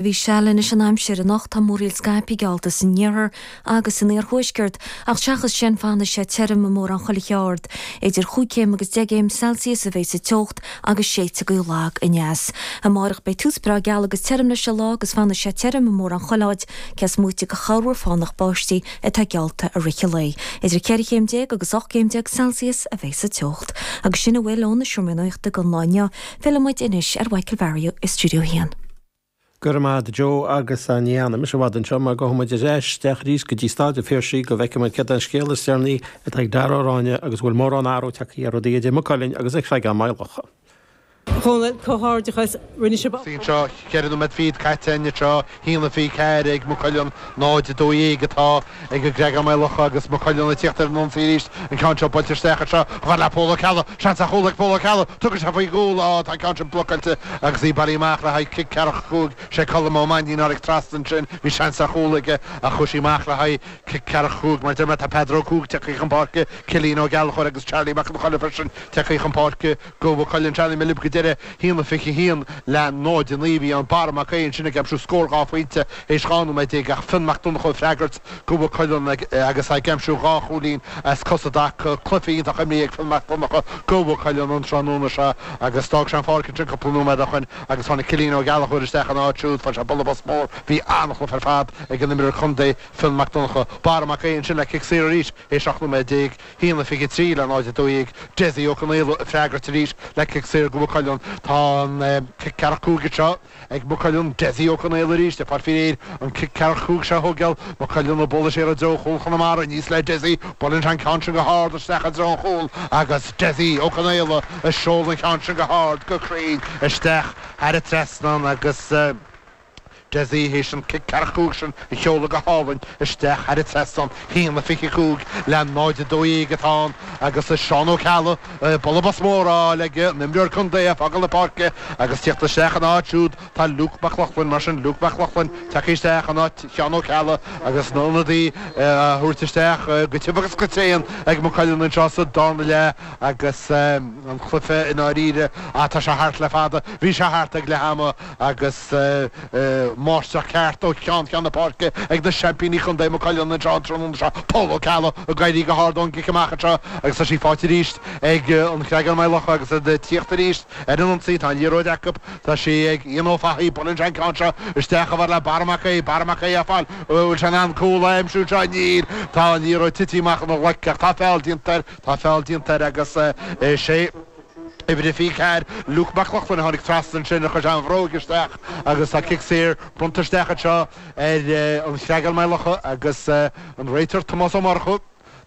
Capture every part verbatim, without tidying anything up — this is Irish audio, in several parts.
Bhí seal anois an aimsir anocht tá múraíl scaipthe geallta san iarthar agus san iarthuaisceart ach seachas sin fanfaidh sé tirim i mórán chuile cheard. Idir chúig chéim agus deich gcéim Celsius a bheidh sa teocht agus séidfidh gaoth lag aneas. Amárach beidh tús breá geal agus tirim leis an lá agus fanfaidh sé tirim i mórán chuile áit cé is móite de chorrmhúr fánach báistí atá geallta i rith an lae. Idir ceithre chéim déag agus ocht gcéim déag Celsius a bheidh sa teocht. Agus sin a bhfuil ón seomra nuachta don lá inniu, fillfidh muid anois ar Mhichael Barry i Studio haon. Go raibh maith agat Joe agus ní fhanfaidh mise i bhfad anseo mar gabhfaidh muid ar ais isteach arís go dtí Staid an Phiarsaigh go bhfeicfidh muid céard é an scéal is deireanaí atá ag Dara Ó Ráinne agus bhfuil mórán athrú tagtha ar rudaí idir Maigh Cuilinn agus an Creagán Maigh Locha. Chónail comhghairdeachas rinne sibh Seo ceithre nóiméad fichead caite anseo haon a fiche ceathair ag Maigh Cuilinn náid a dó dhéag atá ag an gCreagán Maigh Locha agus Maigh Cuilinn ag tíocht ar an ionsaí arís an ceann seo buailte isteach anseo chomh fada le Pól Ó Ceallaigh seans ar chúl ag Pól Ó Ceallaigh tugann sé faoi chúl á tá an ceann sin blocáilte agus í bailithe amach le haghaidh cic ceathracha cúig sé Colm Ó Mainnín tháinig trasna ansin bhí seans ar chúl aige ach chuaigh sí amach le haghaidh cic ceathracha cúig mar deir mé tá Peadar Ó Cuaig tagtha chun páirce Cillian Ó Gallchóir agus Charlie Mac an Choille freisin tagtha chun páirce do Mhaigh Cuilinn Charlie Milib go deireadh haon a fiche haon le náid a naoi bhí an Barra Mac Aodha ansin ag aimsiú scór dhá phointe théis dhá nóiméad déag ach Fionn Mac Donncha ag freagairt do Mhaigh Cuilinn agus ag aimsiú dhá chúilín as cos i dtaca cluiche iontach imeartha ag Fionn Mac Donncha do Mhaigh Cuilinn an tráthnóna seo agus d'fhág sé an pháirc ansin cúpla nóiméad ó shin agus tháinig Cillian Ó Gallchóir isteach ina áit siúd fuair sé buille bos mór bhí an-chluiche ar fad ag an imreoir contae Fionn Mac Donncha Barra Mac Aodha ansin le cic saor arís théis seacht nóiméad déag haon a fiche trí le náid a dó dhéag Dessie Ó Conaola ag freagairt arís le cic saor do Mhaigh Cuilinn tá an cic ceathracha cúig seo ag Maigh Cuilinn Dessie Ó Conaola arís ag fáil faoi réir an cic ceathracha cúig seo a thógáil Maigh Cuilinn ag bualadh siar i dtreo chúl Chonamara aníos le Dessie buaileann sé an ceann sin go hard isteach i dtreo an chúil agus Dessie Ó Conaola ag seoladh an ceann sin go hard go cruinn isteach thar an trasnán agus Dessie théis an cic ceathracha cúig sin a sheoladh go hálainn isteach thar an trasnán haon a fiche cúig le náid a dó dhéag atá ann agus Seán Ó Ceallaigh buille bos mór á fháil ag an imreoir contae ag fágáil na páirce agus tíocht isteach ina áit siúd tá Luke Mac Lochlainn mar sin Luke Mac Lochlainn tagtha isteach in áit Sheán Ó Ceallaigh agus na hionadaí a thabhairt isteach go tiubh agus go tréan ag Maigh Cuilinn anseo sa darna leath agus an cluiche i ndáiríre tá sé thart le fada bhí sé thart ag leath ama agus máistreacht ceart ó cheann ceann na páirce ag na seaimpíní contae Maigh Cuilinn anseo an tráthnóna seo Pól Ó Ceallaigh ag éirí go hard ón gcic amach anseo agus tá sí faighte arís ag an Chreagán Maigh Locha agus iad ag tíocht arís ar an ionsaí tá an liathróid acu tá sí ag Ian Ó Fathaigh buaileann sé an ceann seo isteach chomh fada le Barra Mac Aodha Barra Mac Aodha ag fáil bhfuil sé in ann cúl a aimsiú anseo níl tá an liathróid tite amach ina ghlaic ach tá feall déanta air tá feall déanta air agus sé uimhir a fiche ceathair Luke Mac Lochlainn a tháinig trasna ansin a chuir sé an bhróg isteach agus tá cic saor bronnta isteach anseo ar an Chreagán Maigh Locha agus an réiteoir Tomás Ó Murchú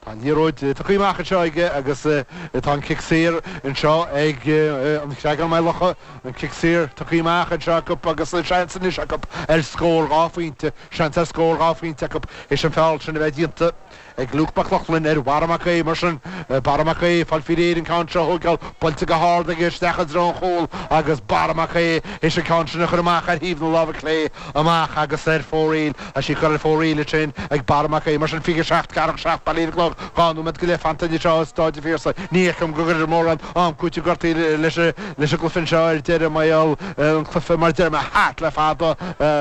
Tá an liathróid tugtha amach anseo aige agus tá an cic saor anseo ag an Chreagán Maigh Locha an cic saor tugtha amach anseo acu agus seans anois acu ar scór dhá phointe seans ar scór dhá phointe acu théis an feall sin a bheith déanta ag Luke Mac Lochlainn ar Bharra Mac Aodha mar sin Barra Mac Aodha fáil faoi réir an ceann seo a thógáil buailte go hard aige isteach i dtreo an chúil agus Barra Mac Aodha théis an ceann sin a chur amach ar thaobh na láimhe clé amach agus ar fóraoil tá sí curtha ar fóraoil ansin ag Barra Mac Aodha mar sin fiche seacht ceathracha seacht bail ar an gclog dhá nóiméad go leith fanta anseo i Staid an Phiarsaigh ní fheicim go gcuirfear mórán am cúitimh gortaithe leis leis an gcluiche seo ar deireadh mar gheall an cluiche mar deir mé thart le fada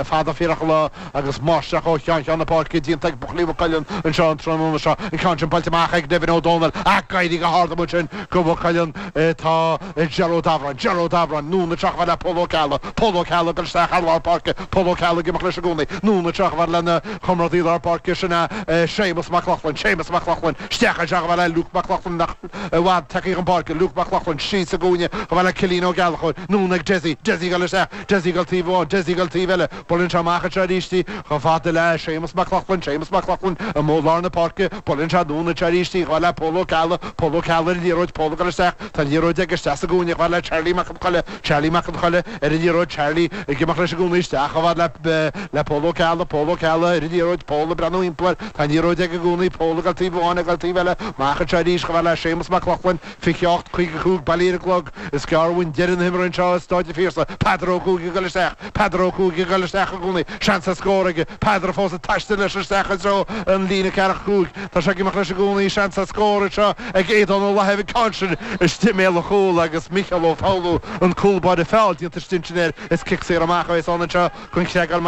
fada fíorach lá agus máistreacht ó cheann ceann na páirce déanta ag buachaillí Mhaigh Cuilinn anseo an tráthnóna seo an ceann sin buailte amach ag Nevin Ó Dónaill ag éirí go hard amuigh sin do Mhaigh Cuilinn tá Ger Ó Dabhráin Ger Ó Dabhráin anonn anseo chomh fada le Pól Ó Ceallaigh Pól Ó Ceallaigh ag dul isteach ar lár páirce Pól Ó Ceallaigh ag imeacht leis i gcónaí anonn anseo chomh fada lena chomrádaí lár páirce sin é Séamus Mac Lochlainn Séamus Mac Lochlainn isteach anseo chomh fada le Luke Mac Lochlainn nach i bhfad tagtha chun páirce Luke Mac Lochlainn síos sa gcúinne chomh fada le Cillian Ó Gallchóir anonn ag Dessie Dessie ag dul isteach Dessie ag dul taobh amháin Dessie ag dul taobh eile buaileann sé amach anseo arís í chomh fada le Séamus Mac Lochlainn Séamus Mac Lochlainn amuigh lár na páirce buaileann sé anonn anseo arís í chomh fada le Pól Ó Ceallaigh Pól Ó Ceallaigh ar an liathróid Pól ag dul isteach tá an liathróid aige isteach sa gcúinne chomh fada le Charlie Mac an Choille Charlie Mac an Choille ar an liathróid Charlie ag imeacht leis i gcónaí isteach chomh fada le le Pól Ó Ceallaigh Pól Ó Ceallaigh ar an liathróid Pól ag breathnú timpeall air tá an liathróid aige i gcónaí Pól ag dul taobh amháin Áine ag dul taobh eile amach anseo arís chomh fada le Séamus Mac Lochlainn fiche ocht caoga cúig bailí ar an gclog is gearr uainn deireadh na himeartha anseo i Stáid an Phiarsaigh Peadar Ó Cuaig ag dul isteach Peadar Ó Cuaig ag dul isteach i gcónaí seans ar scór aige Peadar fós ag taisteal leis isteach i dtreo an líne ceathracha cúig tá sé ag imeacht leis i gcónaí seans ar scór anseo ag Aodán Ó Lathaimh an ceann sin istigh i mbéal an chúil agus Micheál Ó Foghlú an cúl báire feall déanta istigh ansin air is cic saor amach a bheas ann anseo don Chreagán